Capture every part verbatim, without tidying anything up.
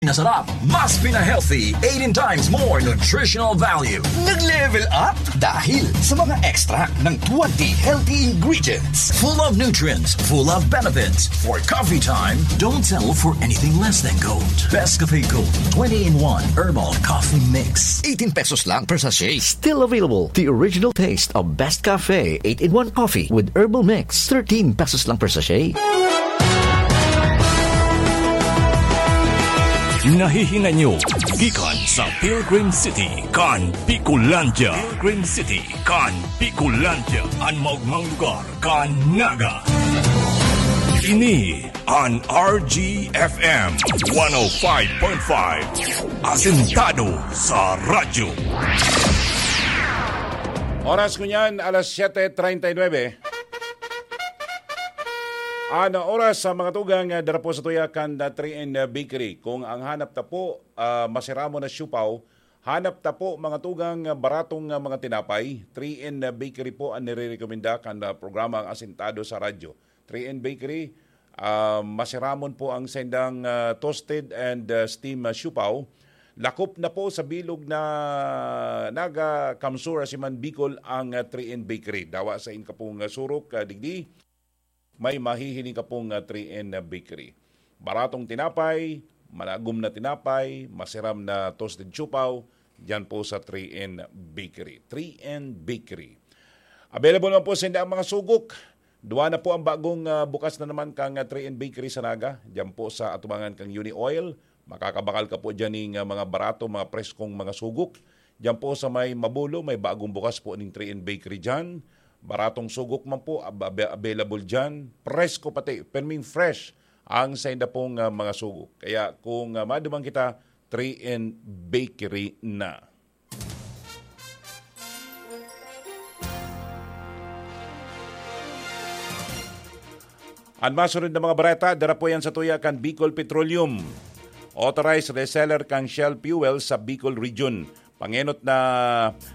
Pinasarap, mas pina-healthy, eighteen times more nutritional value. Nag-level up dahil sa mga extract ng twenty healthy ingredients. Full of nutrients, full of benefits. For coffee time, don't settle for anything less than gold. Best Cafe Gold, twenty-in-one Herbal Coffee Mix. Eighteen pesos lang per sachet. Still available, the original taste of Best Cafe eight-in-one Coffee with Herbal Mix, thirteen pesos lang per sachet. Nahihinay nyo gikan sa Pilgrim City kan Bicolandia. Pilgrim City kan Bicolandia, an maogmang lugar kan Naga. Ini an R G F M one oh five point five, asentado sa radyo. Oras ko niyan, alas siyete treinta y nueve. Ano oras sa mga tugang, ah, dara po sa tuya kan, ah, three N Bakery. Kung ang hanap ta po, ah, masiramon na siopao, hanap ta po mga tugang, ah, baratong, ah, mga tinapay, three N Bakery po ang nirerekomenda kan, ah, programa ang Asintado sa Radyo. Three N Bakery, ah, masiramon po ang sendang, ah, toasted and, ah, steam, ah, siopao. Lakop na po sa bilog na Naga, Kamsur, Asiman, Bicol ang, ah, three N Bakery. Dawa sa in kapong, ah, surok, ah, digdi, may mahihiling ka pong, ah, three N na bakery. Baratong tinapay, malagom na tinapay, masiram na toasted siopao, diyan po sa three N Bakery. Three N Bakery. Available man po sa inda ang mga sugok. Duwa na po ang bagong, ah, bukas na naman kang, ah, three N Bakery sa Naga. Diyan po sa atubangan kang Uni Oil. Makakabakal ka po diyan ning, ah, mga barato, mga preskong mga sugok. Diyan po sa may Mabulo, may bagong bukas po ning three N Bakery diyan. Baratong sugok man po, ab-, ab-, available diyan. Presko pati, perming fresh ang sainda pong, ah, mga sugok. Kaya kung, ah, maduman kita, three N Bakery na. An masunod na mga bareta, dara po yan sa tuya kan Bicol Petroleum. Authorized reseller kan Shell Fuel sa Bicol Region. Pangenot na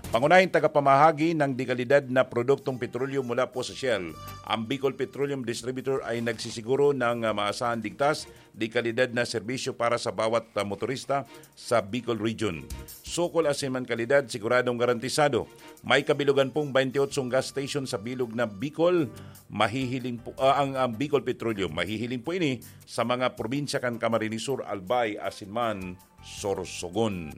pangunahing tagapamahagi ng dekalidad na produktong petrolyo mula po sa Shell. Ang Bicol Petroleum Distributor ay nagsisiguro ng, ah, maasahang ligtas, dekalidad na serbisyo para sa bawat, ah, motorista sa Bicol Region. Sukol asin man kalidad, siguradong garantisado. May kabilugan pong twenty-eight gas station sa bilog na Bicol. Mahihiling po, ah, ang, ang Bicol Petroleum. Mahihiling po ini sa mga probinsya kan Camarines Sur, Albay, asin man Sorsogon.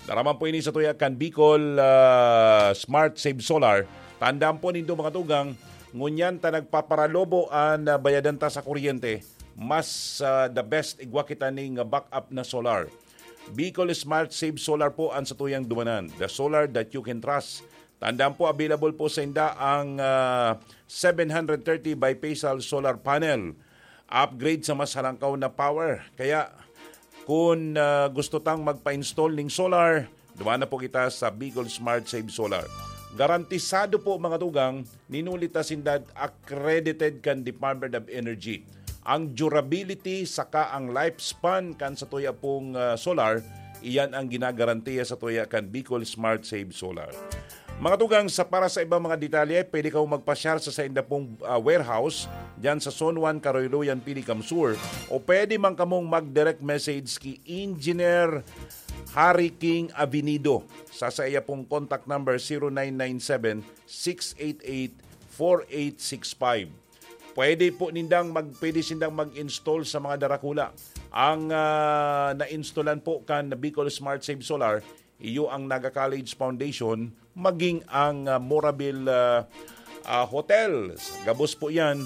Dara man po ini sa tuya kan Bicol, ah, Smart Save Solar. Tandaan po nindo, mga tugang, ngunyan ta nagpaparalobo an, ah, bayadan ta sa kuryente, mas, ah, the best igwa kita ning backup na solar. Bicol Smart Save Solar po ang sa tuyang dumanan. The solar that you can trust. Tandaan po, available po sa inda ang, ah, seven hundred thirty bifacial solar panel. Upgrade sa mas halangkaw na power. Kaya, kung, ah, gusto tang magpa-install ning solar, duman na po kita sa Bicol Smart Save Solar. Garantisado po, mga tugang, ninuli ta sinda accredited kan Department of Energy. Ang durability saka ang lifespan kan sa tuya pong, ah, solar, iyan ang ginagarantiya sa tuya kan Bicol Smart Save Solar. Mga tugang, sa para sa ibang mga detalye, pwede kamo magpasyar sa sainda pong, ah, warehouse diyan sa Zone one, Karoyloyan, Pilicam Sur, o pwede man kamong mag-direct message ki Engineer Harry King Avenido sa saiya pong contact number, zero nine nine seven, six eight eight, four eight six five. Pwede po nindang mag-, pwede sindang mag-install sa mga darakula. Ang, ah, na-installan po kan Bicol Smart Save Solar, iyo ang Naga College Foundation, maging ang, ah, Morabil, ah, ah, Hotel. Gabos po yan,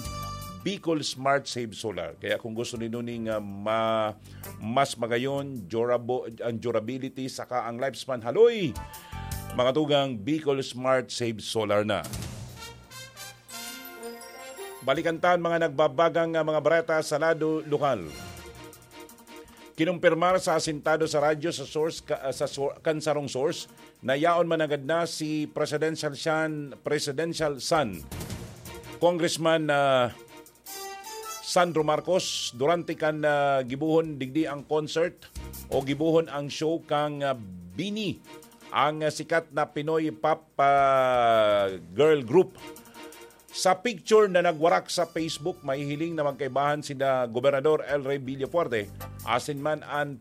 Bicol Smart Save Solar. Kaya kung gusto nindo ning, ah, ma-, mas magayon, durabo-, ang durability, saka ang lifespan, haloy! Mga tugang, Bicol Smart Save Solar na. Balikan ta an mga nagbabagang, ah, mga bareta sa lado lokal. Kinumpirmar sa asintado sa radyo sa source ka-, ah, sa sor-, kan sarong source na yaon managad na si Presidential Shan, Presidential Son, Congressman, ah, Sandro Marcos, durante kan, ah, gibohon digdi ang concert o gibohon ang show kang, ah, Bini, ang, ah, sikat na Pinoy pop, ah, girl group. Sa picture na nagwarak sa Facebook, mahihiling na magkaibahan sina Gobernador El Rey Villafuerte, asin man an